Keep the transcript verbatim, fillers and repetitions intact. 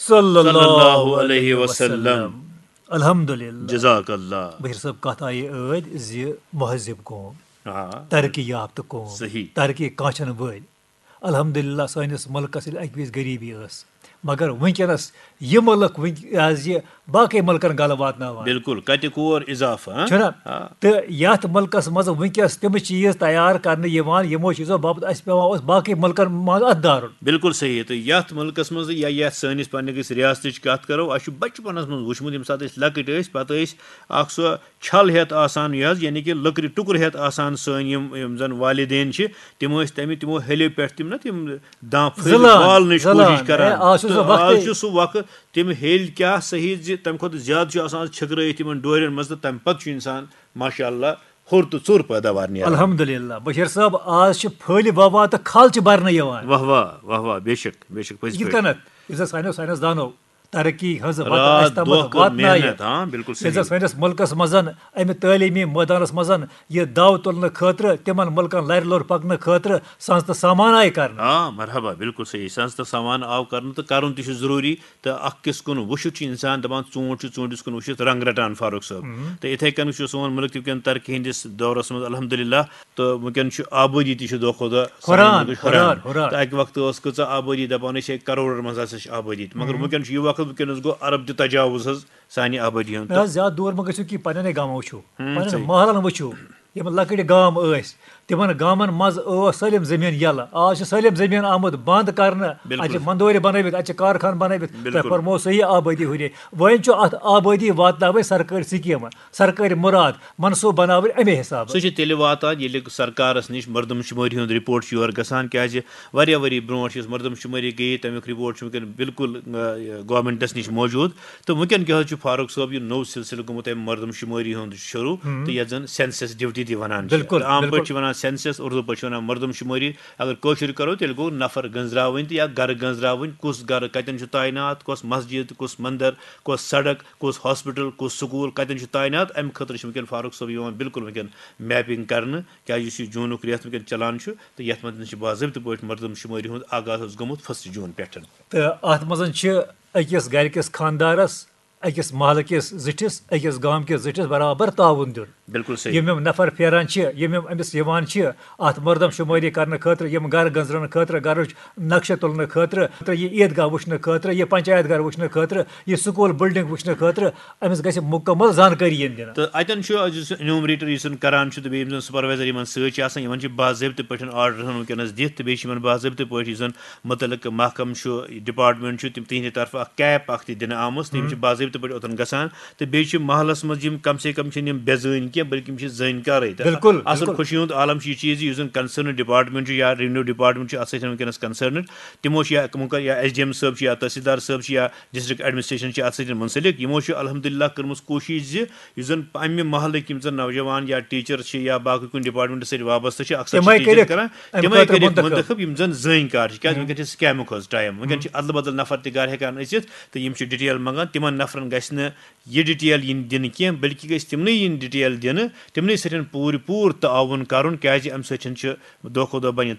صلی اللہ علیہ وسلم۔ الحمدللہ۔ جزاک اللہ۔ بشیر صٲب، کتھ آیہِ ٲدۍ زِ مہذب قوم، آ، ترقی یافتہٕ قوم، صحیح۔ ترقی کانٛہہ چھنہٕ وٲلۍ۔ الحمدللہ، سٲنِس مُلکس ییٚلہِ اکہِ وِزِ غریٖبی ٲس، مگر وٕنکیٚنس یہِ مُلک وٕنکیٚن یہِ حظ یہِ باقٕے مُلکن گلہٕ واتناوان۔ بالکل، کتہِ کور اضافہٕ، ہاں؟ چھُنہ؟ آ۔ تہٕ یتھ مُلکس منٛز وٕنکیٚس تِم چیٖز تیار کرنہٕ یِوان، یِمو چیٖزو باپتھ اسہِ پٮ۪وان اوس باقٕے مُلکن منٛز اتھ دارُن۔ بالکل صحیح۔ تہٕ یتھ مُلکس منٛز یا یتھ سٲنِس پننہِ گٔژھۍ ریاستٕچ کتھ کرو، اسہِ چھُ بچپنس منٛز وٕچھمُت، ییٚمہِ ساتہٕ أسۍ لۄکٕٹۍ ٲسۍ، پتہٕ ٲسۍ اکھ سُہ چھل ہٮ۪تھ آسان، یہِ حظ، یعنی کہِ لٔکرِ ٹُکُر ہٮ۪تھ آسان۔ سٲنۍ یِم، یِم زن والدین چھِ، تِم ٲسۍ تمہِ، تِمو ہیٚلہِ پٮ۪ٹھ تِم نہ تِم دانٛ پھٔلۍ زٕلان، والنٕچ زٕلان۔ کوٗشش کران۔ ہے، آز چھُ سُہ تہٕ وقتٕے۔ آز چھُ سُہ وقت، تِم ہیٚلۍ کیٛاہ صحیح زِ تمہِ کھۄتہٕ زیادٕ چھُ آسان، آز چھٔکرٲیِتھ یِمن ڈورٮ۪ن منٛز، تہٕ تمہِ پتہٕ چھُ انسان ماشاء اللہ ہوٚر تہٕ ژوٚر پیداوار نیران۔ الحمدللہ، بشیر صٲب، آز چھِ پھٔلۍ وۄوان تہٕ کھل چھِ برنہٕ یِوان۔ واہ واہ، واہ واہ، بے شک، بے شک، پٔزۍ یِتھ پٲٹھۍ۔ کٔنٮ۪تھ یُس زن سانیو ساینس دانو ترقی ہٕنٛز وتھ راتھ اَسہِ تامَتھ دۄہ کٔر واتنایہِ۔ محنت، ہاں، بالکل ییٚلہِ زن صحیح۔ سٲنِس مُلکس منٛز اَمہِ تعلیٖمی مٲدانس منٛز یہِ داو تُلنہٕ خٲطرٕ، تِمن مُلکن لرِ لوٚر پکنہٕ خٲطرٕ سنٛز تہٕ سامان آیہِ کرنہٕ۔ آ، مرحبا، بالکل صحیح۔ سنٛز تہٕ سامان آو کرنہٕ، تہٕ کرُن تہِ چھُ ضروٗری۔ تہٕ اکھ کِس کُن وٕچھِتھ چھُ انسان دپان، ژوٗنٛٹھ چھُ ژوٗنٛٹھِس کُن وٕچھِتھ رنگ رٹان، فاروق صٲب۔ تہٕ یِتھے کٔنۍ چھُ سون مُلک تہِ وٕنکیٚن ترقی ہٕنٛدِس دورس منٛز، الحمدللہ۔ تہٕ وٕنکیٚن چھُ آبٲدی تہِ چھِ دۄہ کھۄتہٕ دۄہ سانہِ ہُران، مُلکٕچ ہُران، ہُران۔ تہٕ اکہِ وقتہٕ ٲس کۭژاہ آبٲدی، دپان ٲسۍ ہے کرورن منٛز ہسا چھِ آبٲدی، تہٕ مگر وٕنکیٚن چھُ یہِ وقت، وٕنکیٚنس گوٚو ارب تہِ تجاوز حظ سانہِ آبٲدی ہُنٛد۔ نہ حظ، زیادٕ دوٗر مہ گٔژھِو کِہیٖنۍ، پننٮ۪ن گامن وٕچھِو، ہُم، پننٮ۪ن صحیح۔ محلن وٕچھِو، یِم لۄکٕٹۍ گام ٲسۍ، تِمن گامن منٛز اوس سٲلِم زٔمیٖن یَلہٕ۔ آز چھُ سٲلِم زٔمیٖن آمُت بنٛد کرنہٕ۔ بِلکُل۔ اَتہِ چھِ مندورِ بنٲوِتھ، اَتہِ چھِ کارخان بنٲوِتھ۔ بِلکُل۔ تۄہہِ فرموو صحیح، آبٲدی ہُرے۔ وۄنۍ چھُ اَتھ آبٲدی واتناوٕنۍ سرکٲرۍ سکیٖمہٕ، سرکٲرۍ مُراد، منصوٗبہٕ بناوٕنۍ اَمے حسابہٕ۔ سُہ چھُ تیٚلہِ واتان، ییٚلہِ سرکارس نِش مردم شُمٲری ہُنٛد رِپورٹ چھُ یورٕ گژھان، کیازِ واریاہ ؤری برونٛٹھ یُس مردم شُمٲری گٔیے، تَمیُک رِپورٹ چھُ وٕنکیٚن بِلکُل، آ، گورمنٹس نِش موجود۔ تہٕ وٕنکیٚن کیٛاہ حظ چھُ فاروق صٲب یہِ نوٚو سلسلہٕ گوٚمُت اَمہِ مردم شُمٲری ہُنٛد شروٗع، تہٕ یَتھ زَن سینسس ڈیوٹی تہِ وَنان چھِ۔ بِلکُل، تہٕ عام پٲٹھۍ بِلکُل۔ چھِ وَنان سینسس، اُردو پٲٹھۍ چھِ وَنان مردم شُمٲری۔ اگر کٲشُر کَرو، تیٚلہِ گوٚو نفر گٔنٛزراوٕنۍ تہٕ یا گَرٕ گٔنٛزراوٕنۍ، کُس گَرٕ کَتٮ۪ن چھُ تعینات، کۄس مسجد، کُس مندر، کۄس سڑک، کُس ہاسپٹل، کُس سکوٗل کَتٮ۪ن چھُ تعینات، اَمہِ خٲطرٕ چھِ وٕنکیٚن فاروق صٲب یِوان بِلکُل وٕنکیٚن میپنگ کرنہٕ، کیٛازِ یُس یہِ جوٗنُک رٮ۪تھ وٕنکیٚن چلان چھُ، تہٕ یَتھ منٛز چھِ باضٲبطہٕ پٲٹھۍ مردم شُمٲری ہُنٛد آغاز حظ گوٚمُت فسٹ جوٗن پٮ۪ٹھ۔ تہٕ اَتھ منٛز چھِ أکِس گَرِ کِس خانٛدارَس، أکِس محلہٕ کِس زِٹھِس، أکِس گام کِس زِٹھِس برابر تعاوُن دیُن۔ بِلکُل صحیح۔ یِم یِم نفر پھیران چھِ، یِم یِم أمِس یِوان چھِ، اَتھ مردم شُمٲری کرنہٕ خٲطرٕ، یِم گرٕ گٔنٛزراونہٕ خٲطرٕ، گرٕچ نقشہٕ تُلنہٕ خٲطرٕ، تہٕ یہِ عیٖدگاہ وٕچھنہٕ خٲطرٕ، یہِ پنچایت گھر وٕچھنہٕ خٲطرٕ، یہِ سکوٗل بلڈنگ وٕچھنہٕ خٲطرٕ، أمِس گژھِ مُکمل زانکٲری یِنۍ دِنہٕ۔ تہٕ اَتٮ۪ن چھُ یُس انیومریٹر یُس زَن کران چھُ، تہٕ بیٚیہِ یِم زَن سپروایزر یِمن سۭتۍ چھِ آسان، یِمن چھِ باضٲبطہٕ پٲٹھۍ آرڈر وٕنکیٚنس دِتھ، تہٕ بیٚیہِ چھِ یِمن باضٲبطہٕ پٲٹھۍ یُس زَن مُتعلقہٕ محکمہٕ چھُ، ڈپارٹمنٹ چھُ، تِم تِہنٛدِ طرفہٕ اکھ کیپ اکھ تہِ دِنہٕ آمٕژ، تہٕ یِم چھِ باضٲبطہٕ پٲٹھۍ اوٚتن گژھان۔ تہٕ بیٚیہِ چھِ محلس منٛز یِم کم سے کم چھِنہٕ یِم بے زٲنۍ کینٛہہ، بلکہِ یِم چھِ زٲنۍ کارٕے۔ تہٕ بِلکُل، اصل بِلکُل۔ خوشی ہُنٛد عالم چھُ یہِ چیٖز زِ یُس زَن کنسرن ڈپارٹمنٹ چھُ یا ریونیو ڈپارٹمنٹ چھُ، اتھ سۭتۍ چھِ وٕنکیٚنس کنسرنڈ۔ تِمو چھِ یا، تِمو کٔر یا ایس ڈی ایم صٲب چھِ یا تحصیلدار صٲب چھِ یا ڈسٹرکٹ ایڈمنسٹریشن چھِ اتھ سۭتۍ منسلک۔ یِمو چھُ الحمدللہ کٔرمٕژ کوٗشِش زِ یُس زَن امہِ محلٕکۍ یِم زَن نوجوان یا ٹیچر چھِ یا باقٕے کُنہِ ڈپارٹمنٹ سۭتۍ وابستہٕ چھِ، اکثر چھِ تِمے ٹیچر کٔرِکھ کران، امہِ تِمے خٲطرٕ کٔرِکھ منتخب۔ منتخب یِم زَن زٲنۍ کار چھِ۔ کیازِ وٕنکیٚن چھِ سکیمُک حظ ٹایم، وٕنکیٚن چھِ ادلہٕ بدل نفر تہِ گرٕ ہٮ۪کان أژِتھ تہٕ یِم چھِ ڈیٹیل منٛگان۔ تِمن نفرن گژھِ نہٕ یہِ ڈیٹیل یِنۍ دِنہٕ کینٛہہ، بلکہِ گژھِ تِمنٕے یِنۍ ڈیٹیل دِنہٕ، تِمنٕے سۭتۍ پوٗرٕ پوٗرٕ تعاوُن کرُن، کیازِ امہِ سۭتۍ چھِ دۄہ کھۄتہٕ دۄہ بنہِ